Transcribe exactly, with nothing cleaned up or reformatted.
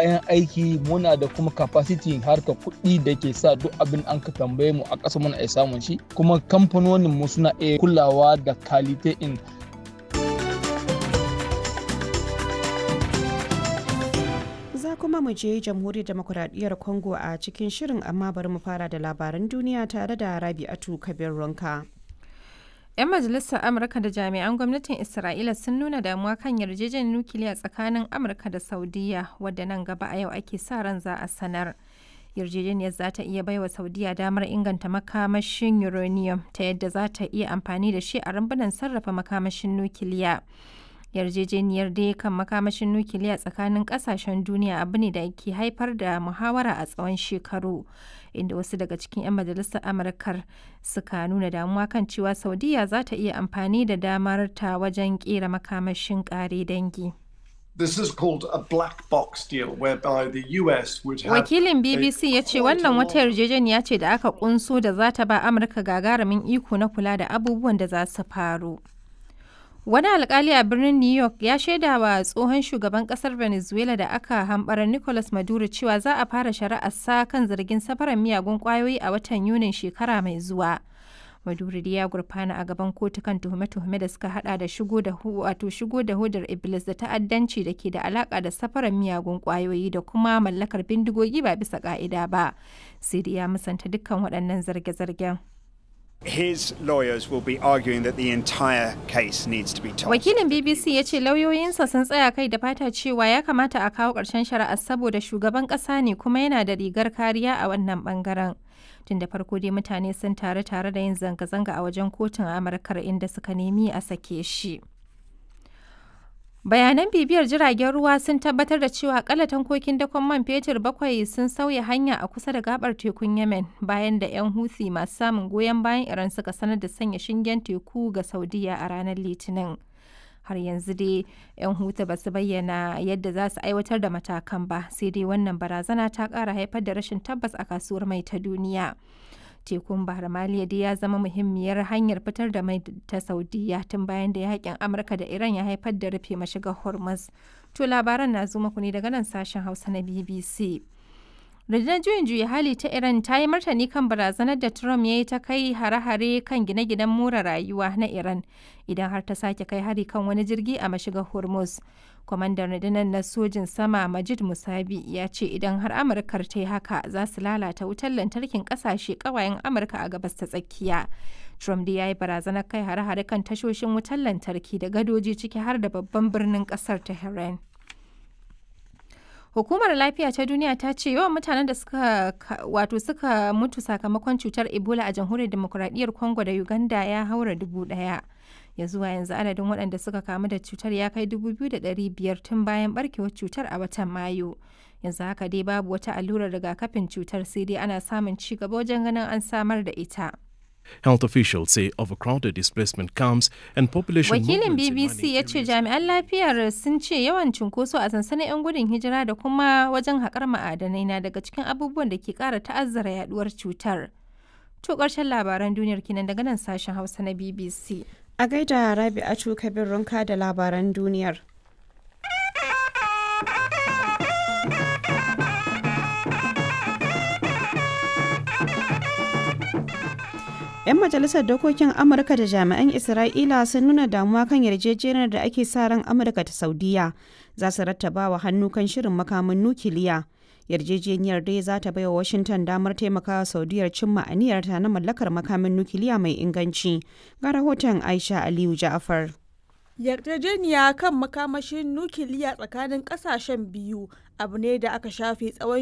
Kayan aiki muna da, kuma capacity harka kuɗi da ke sa duk abin an ka tambaye mu a ƙasa muna iya samun shi, kuma kamfanonin mu suna iya kulawa da quality in. Za kuma mu je Jamhuriyar Demokuraɗiyyar Congo a cikin shirin, amma bari mu fara da labaran duniya tare da Rabi'atu Kabir Ronka. 'Yan majalisar Amurka da jami'an gwamnatin Isra'ila sun nuna damuwa kan yarjejeniyar nukiliya tsakanin Amurka da Saudiyya, wadda nan gaba a yau ake sa ran za a sanar. Yarjejeniyar za ta iya baiwa Saudiyya damar inganta makamashin uranium ta yadda za ta iya amfani da shi a rumbunan sarrafa makamashin nukiliya. Yarjejeniyar dai kan makamashin nukiliya tsakanin kasashen duniya abu ne da ke haifar da muhawara a tsawon shekaru, inda wasu daga cikin 'yan majalisar Amurkar suka nuna damuwa kan cewa Saudiya za ta iya amfani da damar ta wajen kera makamashin kare dangi. This is called a black box deal whereby the U S would have Wakilin B B C ya ce wannan wata yarjejeniya ce da aka kunso da za ta ba Amurka gagarumin iko na kula da abubuwan da za su faru. Wani alkali a birnin New York ya shaida wa tsohon shugaban kasar Venezuela da aka hambara Nicolas Maduro cewa za a fara shari'ar sa kan zargin safarar miyagun kwayoyi a watan Yunin shekara mai zuwa. Maduro dai ya gurfana a gaban kotu kan tuhume-tuhume da suka hada da shigo da wato shigo da hodar iblis da ta'addanci da ke da alaka da safarar miyagun kwayoyi da kuma mallakar bindigogi ba bisa ka'ida ba. Sai dai ya musanta dukkan waɗannan zarge-zargen. His lawyers will be arguing that the entire case needs to be tossed. Wakilin B B C ya ce lauyoyinsa sun tsaya kai da fata cewa ya kamata a kawo ƙarshen shari'ar saboda shugaban ƙasa ne kuma yana da rigar kariya a wannan bangaren. Tun da farko dai mutane sun taru tare da yin zanga-zanga a wajen kotun Amurkar, inda suka nemi a sake shi. Bayanan bibiyar jiragen ruwa sun tabbatar da cewa akalla tankokin dakon man fetur bakwai sun sauya hanya a kusa da gabar tekun Yemen bayan da 'yan Houthi masu samun goyon bayan Iran suka sanar da sanya shingen teku ga Saudiya a ranar Litinin. Har yanzu dai 'yan Houthi ba su bayyana yadda za su aiwatar da matakan ba, sai dai wannan barazana ta kara haifar da rashin tabbas a kasuwar mai ta duniya. Tekun Bahar Maliya dai ya zama muhimmiyar hanyar fitar da mai ta Saudiya tun bayan da yakin Amurka da Iran ya haifar da rufe mashigar Hormuz. To, labaran na zo muku ne daga nan sashen Hausa na B B C. Rundunar juyin juya hali ta Iran ta yi martani kan barazanar da Trump ya yi ta kai hare-hare kan gine-ginen more rayuwa na Iran idan har ta sake kai hari kan wani jirgi a mashigar Hormuz. Kwamandan rundunar na sojin sama Majid Musabi ya ce idan har Amurkar ta yi haka, za su lalata wutar lantarkin kasashe kawayen Amurka a Gabas ta Tsakiya. Trump dai ya yi barazanar kai hare-hare kan tashoshin wutar lantarki da gadoji, ciki har da babban birnin kasar Tehran. Hukumar Lafiya ta Duniya ta ce yawan mutanen da suka wato suka mutu sakamakon cutar Ebola a Jamhuriyar Demokuraɗiyyar Congo da Uganda ya haura dubu ɗaya. Ya zuwa yanzu adadin waɗanda suka kamu da cutar ya kai dubu biyu da ɗari biyar tun bayan barkewar cutar a watan Mayu. Yanzu haka dai babu wata allurar rigakafin cutar, sai dai ana samun ci gaba wajen ganin an samar da ita. Health officials say overcrowded displacement camps and population Wakilin movements in B B C mining ya ce areas- jami'an lafiyar sun ce yawan cunkoso a sansanin 'yan gudun hijira da kuma wajen haƙar ma'adanai na daga cikin abubuwan da ke ƙara ta'azzara yaduwar cutar. To, ƙarshen labaran duniyar kenan daga nan sashen Hausa na B B C. A gaida Rabi'atu Kabir Runka da labaran duniyar. 'Yan majalisar dokokin Amurka da jami'an Isra'ila sun nuna damuwa kan yarjejeniyar da ake sa ran Amurka ta Saudiya za su rattaba wa hannu kan shirin makamin nukiliya. Yarjejeniyar dai za ta baiwa Washington damar taimakawa Saudiyar cimma aniyarta na mallakar makamin nukiliya mai inganci. Ga rahoton Aisha Aliyu Ja'afar. Yarjejeniya kan makamashin nukiliya tsakanin kasashen biyu abu ne da aka shafe tsawon